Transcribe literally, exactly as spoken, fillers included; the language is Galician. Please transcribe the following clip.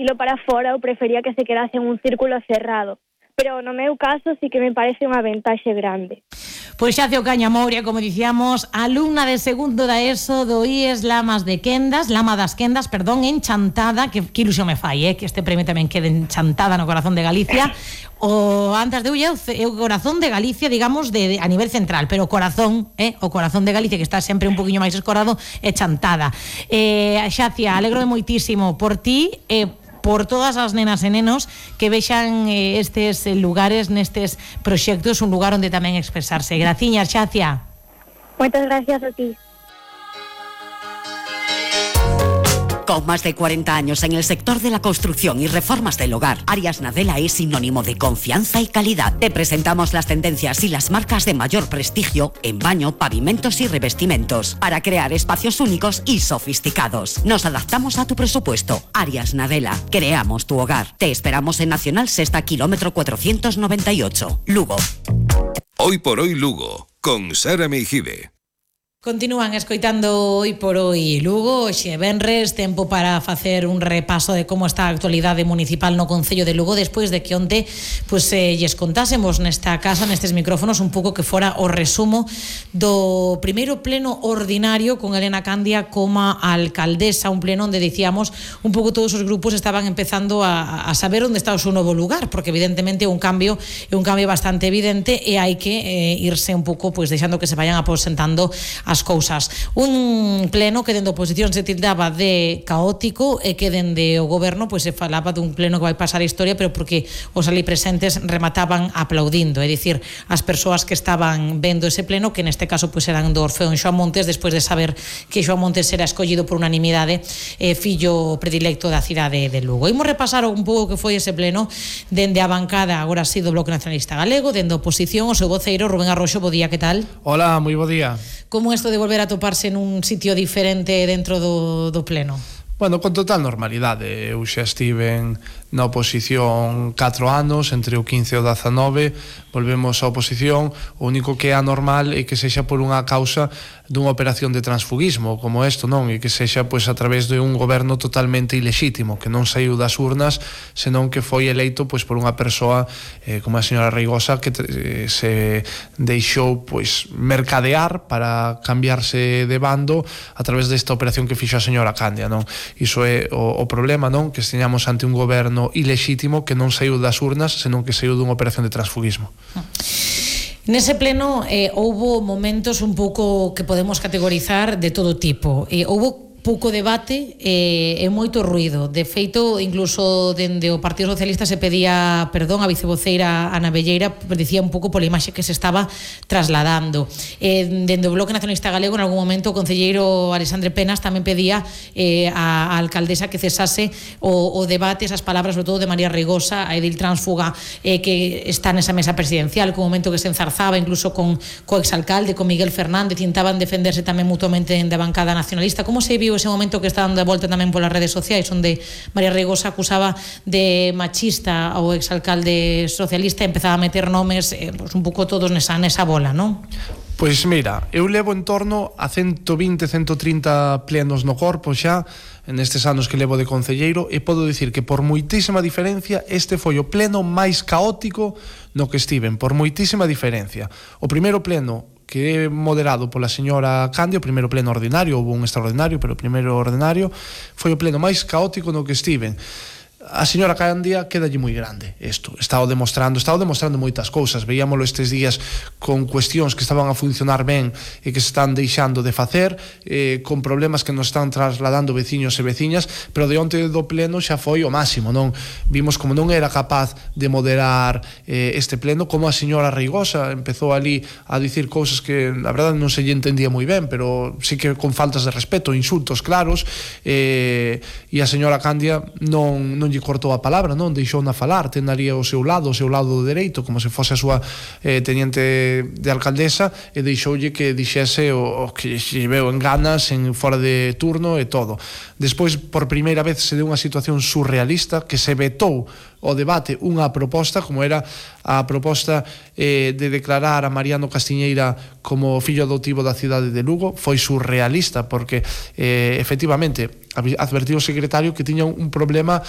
dilo para fora, eu prefería que se quedase en un círculo cerrado. Pero no meu caso sí que me parece unha ventaxe grande. Pois Xacio Caña Mouria, como dicíamos, alumna de segundo da ESO do I E S Lamas de Quendas, Lama das Quendas, perdón, en Chantada, que, que ilusión me fai, eh, que este premio tamén quede en Chantada, no corazón de Galicia. O antes de Ulle, o corazón de Galicia, digamos, de, de, a nivel central, pero o corazón, eh, o corazón de Galicia, que está sempre un poquinho máis escorado, é Chantada. Eh, Xacia, alegro moitísimo por ti, eh, por todas as nenas e nenos que vexan eh, estes lugares, nestes proxectos, un lugar onde tamén expresarse. Graciñas, Xacia. Moitas gracias a ti. Con más de cuarenta años en el sector de la construcción y reformas del hogar, Arias Nadella es sinónimo de confianza y calidad. Te presentamos las tendencias y las marcas de mayor prestigio en baño, pavimentos y revestimientos para crear espacios únicos y sofisticados. Nos adaptamos a tu presupuesto. Arias Nadella, creamos tu hogar. Te esperamos en Nacional Sexta, kilómetro cuatrocientos noventa y ocho, Lugo. Hoy por hoy Lugo, con Sara Meijide. Continúan escoitando Hoy por Hoy Lugo. Hoxe venres, tempo para facer un repaso de como está a actualidade municipal no Concello de Lugo despois de que onte pues, eh, lles contásemos nesta casa, nestes micrófonos, un pouco que fora o resumo do primeiro pleno ordinario con Elena Candia como alcaldesa, un pleno onde dicíamos un pouco todos os grupos estaban empezando a, a saber onde está o seu novo lugar, porque evidentemente é un cambio é un cambio bastante evidente e hai que eh, irse un pouco pues, deixando que se vayan aposentando as cousas. Un pleno que dende a oposición se tildaba de caótico e que dende o goberno pois se falaba dun pleno que vai pasar a historia, pero porque os ali presentes remataban aplaudindo, é dicir, as persoas que estaban vendo ese pleno, que neste caso pois eran do Orfeón Xoán Montes, despois de saber que Xoán Montes era escollido por unanimidade eh, fillo predilecto da cidade de Lugo. Imos repasar un pouco que foi ese pleno dende a bancada, agora sí, do Bloque Nacionalista Galego, dende a oposición, o seu voceiro Rubén Arroxo. Bo día, que tal? Hola, moi bo día. Como isto de volver a toparse nun sitio diferente dentro do, do pleno? Bueno, con total normalidade. Eu xa estive na oposición catro anos, entre o quince e o dezanove, volvemos á oposición. O único que é anormal é que sexa por unha causa dunha operación de transfugismo como isto, non? E que sexa pois a través de un goberno totalmente ilexítimo, que non saiu das urnas, senón que foi eleito pois por unha persoa eh, como a señora Reigosa, que eh, se deixou pois mercadear para cambiarse de bando a través desta operación que fixo a señora Candia, non? Iso é o, o problema, non? Que esteñamos ante un goberno ilexítimo que non saiu das urnas, senón que saiu dunha operación de transfugismo. Nese pleno eh, houbo momentos un pouco que podemos categorizar de todo tipo. Eh, houbo pouco debate e, e moito ruido. De feito, incluso dende o Partido Socialista se pedía perdón a vicevoceira Ana Velleira, dicía un pouco pola imaxe que se estaba trasladando. E, dende o Bloque Nacionalista Galego, en algún momento, o concelleiro Alexandre Penas tamén pedía eh, a, a alcaldesa que cesase o, o debate, esas palabras, sobre todo de María Reigosa, a edil tránsfuga eh, que está nesa mesa presidencial, que un momento que se enzarzaba incluso con co exalcalde, con Miguel Fernández, intentaban defenderse tamén mutuamente dende a bancada nacionalista. Como se viu ese momento que está dando a volta tamén polas redes sociais, onde María Reigosa acusaba de machista ao exalcalde socialista e empezaba a meter nomes eh, pues un pouco todos nesa, nesa bola, non? Pois mira, eu levo en torno a ciento vinte, ciento trinta plenos no corpo xa nestes anos que levo de concelleiro, e podo dicir que por moitísima diferencia este foi o pleno máis caótico no que estiven, por moitísima diferencia. O primeiro pleno, que é moderado pola señora Candia, o primeiro pleno ordinario, houve un extraordinario, pero o primeiro ordinario foi o pleno máis caótico no que estiven. A señora Candia quedalle moi grande isto, está o demostrando, está o demostrando moitas cousas. Veíamolo estes días con cuestións que estaban a funcionar ben e que se están deixando de facer, eh, con problemas que nos están trasladando veciños e veciñas, pero de onte do pleno xa foi o máximo, non? Vimos como non era capaz de moderar eh, este pleno, como a señora Reigosa empezou ali a dicir cousas que a verdade non se lle entendía moi ben, pero sí que con faltas de respeto, insultos claros, eh, e a señora Candia non, non lle cortou a palabra, non? Deixou na falar, ten ali ao seu lado, o seu lado dereito, como se fose a súa eh, teniente de alcaldesa, e deixoulle que dixese o, o que se veu en ganas, en fora de turno e todo. Despois, por primeira vez, se deu unha situación surrealista, que se vetou o debate unha proposta, como era a proposta eh, de declarar a Mariano Castiñeira como fillo adoptivo da cidade de Lugo. Foi surrealista, porque eh, efectivamente advertiu o secretario que tiña un problema